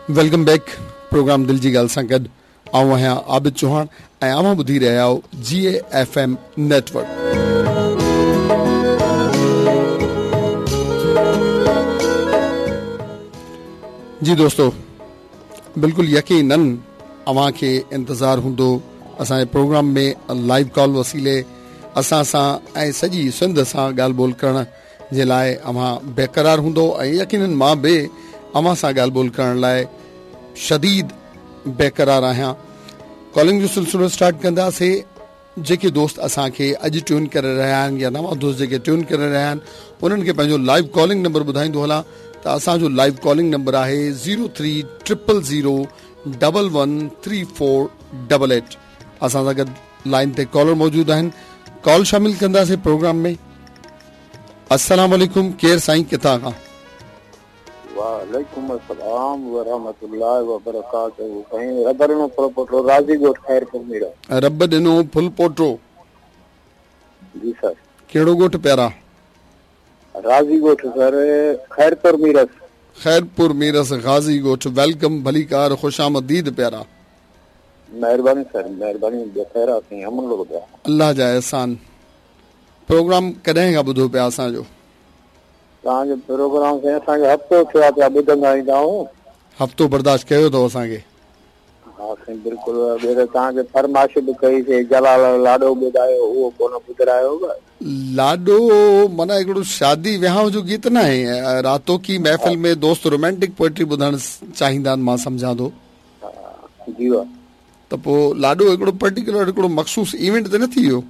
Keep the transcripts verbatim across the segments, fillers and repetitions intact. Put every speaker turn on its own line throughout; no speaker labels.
Welcome back programme दिल जी ॻाल्हि सां गॾु आउं आहियां आबिद चौहान ऐं अव्हां ॿुधी रहिया आहियो जी ए एफ एम नेटवर्क। जी दोस्तो, बिल्कुल यकीनन अव्हां खे इंतज़ार हूंदो असांजे प्रोग्राम में लाइव कॉल वसीले असां सां ऐं सॼी सिंध सां ॻाल्हि ॿोल करण जे लाइ अव्हां बेक़रार हूंदो ऐं यकीनन मां बि अव्हां सां ॻाल्हि ॿोल करण लाइ शदीद बेक़रार आहियां। कॉलिंग जो सिलसिलो स्टार्ट कंदासीं। जेके दोस्त असांखे अॼु ट्यून करे रहिया आहिनि या नवां दोस्त जेके ट्यून करे रहिया आहिनि उन्हनि खे पंहिंजो लाइव कॉलिंग नंबर ॿुधाईंदो हलां त असांजो लाइव कॉलिंग नंबर आहे zero three triple zero double one three four double eight. असां सां गॾु लाइन ते कॉलर मौजूदु आहिनि, कॉल शामिल कंदासीं प्रोग्राम में। अस्सलाम वालेकुम, केरु साईं, किथां खां?
वालेकुम अस्सलाम व रहमतुल्लाहि व बरकातहू। साईं रब ॾिनो फुलपोटो, राज़ी ॻोठ खैरपुर मीरा।
रब ॾिनो फुलपोटो।
जी सर।
कहिड़ो ॻोठ प्यारा?
राज़ी ॻोठ सर, खैरपुर मीरस।
खैरपुर मीरस, गाज़ी ॻोठ। Welcome, भलीकार, ख़ुशामदीद प्यारा।
मेहरबानी सर, मेहरबानी। खैर साईं, अमन लोग पिया।
अल्लाह जा एहसान। प्रोग्राम कॾहिं खां ॿुधो पिया असांजो?
तव्हांजो प्रोग्राम साईं असांखे हफ़्तो थियो आहे पिया ॿुधंदा ईंदा आहियूं।
हफ़्तो बर्दाश्त कयो अथव असांखे?
हा साईं बिल्कुलु। ॿियो तव्हांखे फरमाइश बि कईसीं, जलाल लाॾो ॿुधायो, उहो कोन ॿुधायो।
लाॾो माना हिकिड़ो शादी विहाव जो गीत न आहे। रातो की महफ़िल में दोस्त रोमांटिक पोइट्री ॿुधणु चाहींदा आहिनि, मां सम्झां थो।
जी वाह।
त पोइ लाॾो हिकिड़ो पर्टिकुलर हिकिड़ो मख़सूस इवेंट त न थी वियो?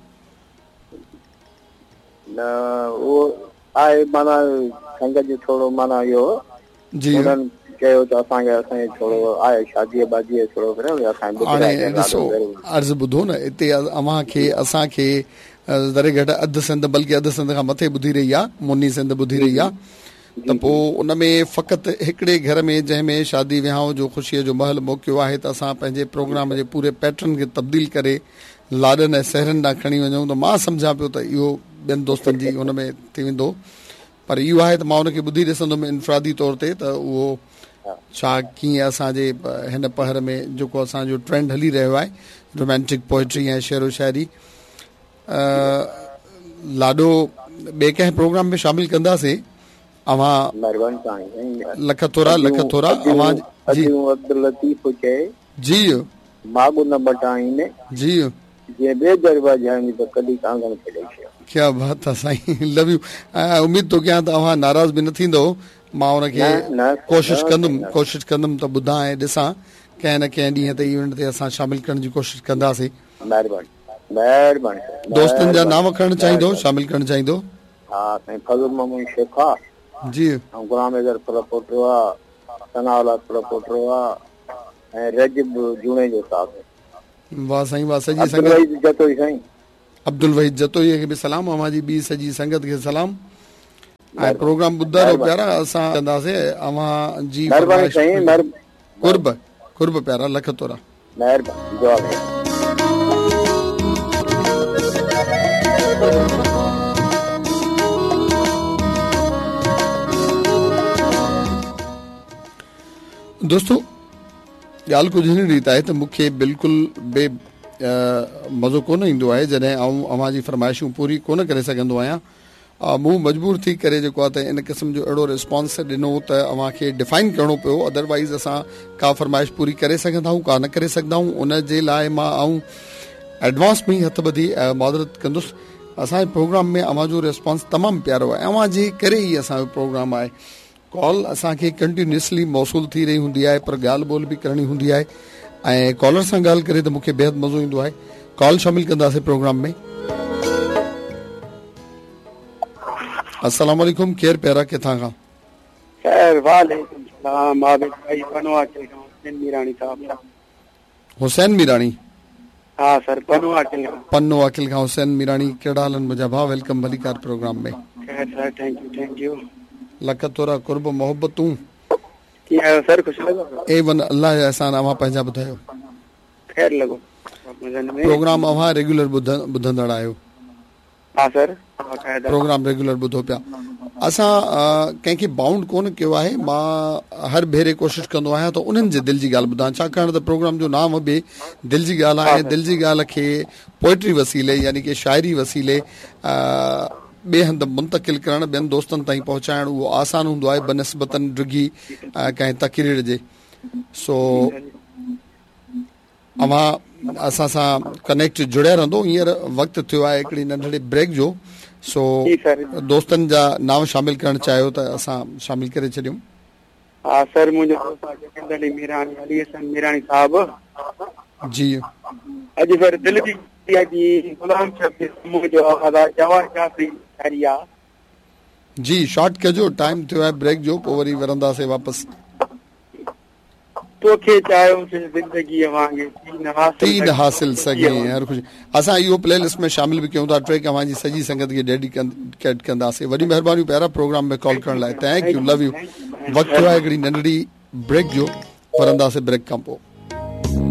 न, उहो आहे माना संगत जो थोरो माना इहो
जी
उन्हनि चयो त असांखे असांजे थोरो आहे शादीअ बादीअ थोरो करे
हाणे ॾिसो, अर्ज़ु ॿुधो न, हिते अव्हांखे असांखे ज़रे घटि अधु सिंध बल्कि अधु सिंध खां मथे ॿुधी रही आहे, मुनी सिंध ॿुधी रही आहे। त पोइ उन में फ़क़ति हिकिड़े घर में जंहिं में शादी विहाव जो ख़ुशीअ जो महल मौक़ो आहे त असां पंहिंजे प्रोग्राम जे पूरे पैटर्न खे तब्दील करे लाॾनि ऐं सहरनि ॾांहुं खणी वञूं त मां सम्झां पियो त इहो ॿियनि दोस्तनि जी हुन में थी वेंदो। पर इहो आहे त मां हुनखे ॿुधी ॾिसंदुमि इनफ़िरादी तौर ते त उहो छा कीअं असांजे हिन पहर में जेको असांजो ट्रेंड हली रहियो आहे रोमांटिक पोइट्री ऐं शेरो शाइरी। लाॾो ॿिए कंहिं प्रोग्राम में शामिल कंदासीं। अव्हां लख थोरा, लख थोरा। अव्हां जी
अब्दुल लतीफ़ चए
जी
माॻो न बटाईन
जी
जे ॿिए दरवाज़ा त कॾहिं कांगण खे ॾेई छॾियो।
क्या बात आहे साईं, लव you. उमेद थो कयां त अव्हां नाराज़ बि न थींदो। मां हुनखे कोशिशि कंदुमि कोशिशि कंदुमि त ॿुधां ऐं ॾिसां कंहिं न कंहिं ॾींहं ते इवेंट ते असां शामिल करण जी कोशिशि कंदासीं।
महिरबानी महिरबानी।
दोस्तनि जा नाम खणणु चाहींदो, शामिल करणु चाहींदो?
हा साईं, फज़ल मोहम्मद शेख आहे
जी,
ऐं गुलाम हैदर फुलपोटो आहे, सनाउला फुलपोटो आहे ऐं रजब जुणेजो साहिबु।
वाह साईं वाह। सॼी
संगत जतोई साईं,
अब्दुल वहीद जतोई खे बि सलाम, अव्हां जी ॿी सॼी संगत खे सलाम। ऐं प्रोग्राम ॿुधा रहो प्यारा, असां कंदासीं अव्हां जी क़ुर्ब क़ुर्ब प्यारा, लख थोरा।
महिरबानी, दुआ।
दोस्तो, ॻाल्हि कुझु हिन रीति आहे त मूंखे बिल्कुलु बे मज़ो कोन ईंदो आहे जॾहिं आउं अव्हां जी फरमाइशूं पूरी कोन करे सघंदो आहियां। मूं मजबूर थी करे जेको आहे त इन क़िस्म जो अहिड़ो रिस्पॉन्स ॾिनो त अव्हांखे डिफाइन करिणो पियो, अदरवाइज़ असां का फरमाइश पूरी करे सघंदा आहियूं का न करे सघंदा आहियूं। उन जे लाइ मां आउं एडवांस में ई हथु ॿधी माज़रत कंदुसि। असांजे प्रोग्राम में अव्हांजो रिस्पॉन्स तमामु प्यारो आहे, अव्हांजे करे ई असांजो प्रोग्राम आहे। कॉल असांखे कंटिन्यूअसली मौसूल थी रही हूंदी आहे, पर ॻाल्हि ॿोल बि करणी हूंदी आहे ऐं कॉलर सां ॻाल्हि करे त मूंखे बेहद मज़ो ईंदो आहे। कॉल शामिल कंदासीं प्रोग्राम में। अस्सलाम वालेकुम, केरु प्यारा, किथां खां?
खैर वालेकुम सलाम, आबिद भाई पनवा खां, हुसैन मीरानी साहब।
हुसैन मीरानी?
हा सर, पन्नो आकिल खां।
पन्नो आकिल खां हुसैन मीरानी। कहिड़ा हाल आहिनि मुंहिंजा भाउ? Welcome भलीकार प्रोग्राम में।
खैर sir, thank you thank you.
Lakh थोरा, क़ुर्ब मोहब्बतूं।
कीअं आहियो सर? ख़ुशि लॻो?
ए वन, अल्लाह जा एहसान। अव्हां पंहिंजा ॿुधायो?
खैर लॻो।
प्रोग्राम अव्हां रेगुलर ॿुधंदड़ आहियो?
हा sir,
programme regular ॿुधो पिया। اسان ڪنهن کي بائونڊ ڪونه ڪيو آهي. مان هر ڀيري ڪوشش ڪندو آهيان ته انهن جي دل جي ڳالهه ٻڌان، ڇاڪاڻ ته پروگرام جو نام به دل جي ڳالهه آهي. دل جي ڳالهه کي پوئٽري وسيلي يعني ڪه شاعري وسيلي ٻئي هنڌ منتقل ڪرڻ، ٻين دوستن تائين پهچائڻ اهو آسان هوندو آهي بنسبتن ڊگهي ڪنهن تقرير جي. سو اوهان اسان سان ڪنيڪٽ جڙيا رهندو. هينئر وقت ٿيو آهي هڪڙي ننڍڙي بريڪ جو، سو دوستن جا نانء شامل ڪرڻ چاهيو ته اسان شامل ڪري ڇڏيون.
ها سر، منهنجو دوست آهي جگندر علي ميراڻي، علي حسن ميراڻي صاحب.
جي
اڄ سر دل جي جي غلام شبير سمون جو آواز آهي، جواهر جعفري شاعري آهي.
جي شارٽ ڪجو، ٽائيم ٿيو آهي بريڪ جو، پوء وري ورنداسين واپس.
توکي چاهيوسين زندگيء وانگي، ٿي نه حاصل
ٿي نه حاصل سگهي هر خوشي. اسان اهو پلي لسٽ ۾ شامل به ڪيون ٿا. ٽريڪ اوهان جي سڄي سنگت کي ڊيڊيڪيٽ ڪنداسين. وڏي مهربانيون پيارا پروگرام ۾ ڪال ڪرڻ لاء. Thank you, love you. وقت ٿيو آهي هڪڙي ننڍڙي بريڪ جو، ورنداسين بريڪ کان پوء.